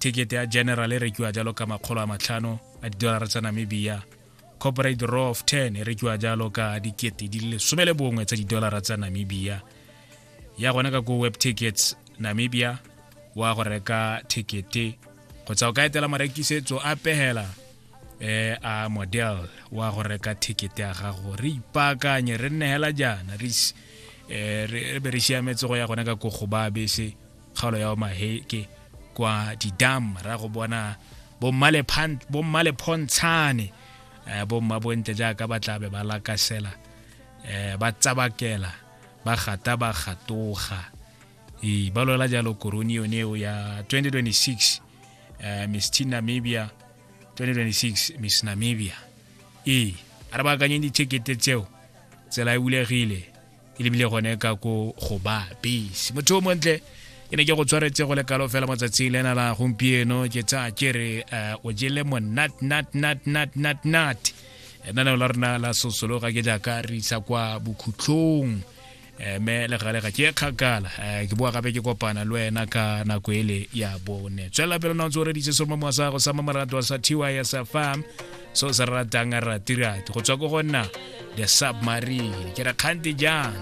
Ticket ya general e rekiwa jalo ka 500 a didolara tsa Namibia. Corporate row of 10 e rekiwa jalo ka 11,000 tsa didolara tsa Namibia. Ya gone ka ko Web Tickets Namibia wa go reka ticket, kgotsa o ka etela marekisetso a pehela a model wa go reka ticket ya gago. Re ipaakanye, re nne hela jaana, re be re siametse go ya gone ka ko go ba bese kgaolo ya Omaheke kwa didam, ra go bona bommalephontshane, bomma bontle jaaka ba tlabe ba lakasela, ba tsabakela, ba gata, ba gatoga, ee, ba lwela jalo korone yone eo ya 2026, Miss Teen Namibia 2026, Miss Namibia. Ee, a re baakanyeng dithekete tseo, tsela e bulegile, e lebile gone ka ko go ba bese. Motho o montle, ke ne ke go tshwaretse go le kalo fela matsatsing lena la gompieno. Ke tsaya ke re o jele monat nat nat nat nat nat. Lenaneo la rona la sosologa ke jaaka re isa kwa bokhutlhong, mme le gale ga ke kgakala. Ke boa gape ke kopana le wena ka nako ele ya bone. Tswelela pele na o ntse o reditse seromamowa sa gago sa mamaratwa sa TYS FM, so se ratang ratirati go tswa ko go nna The Submarine. Ke re kgante jang.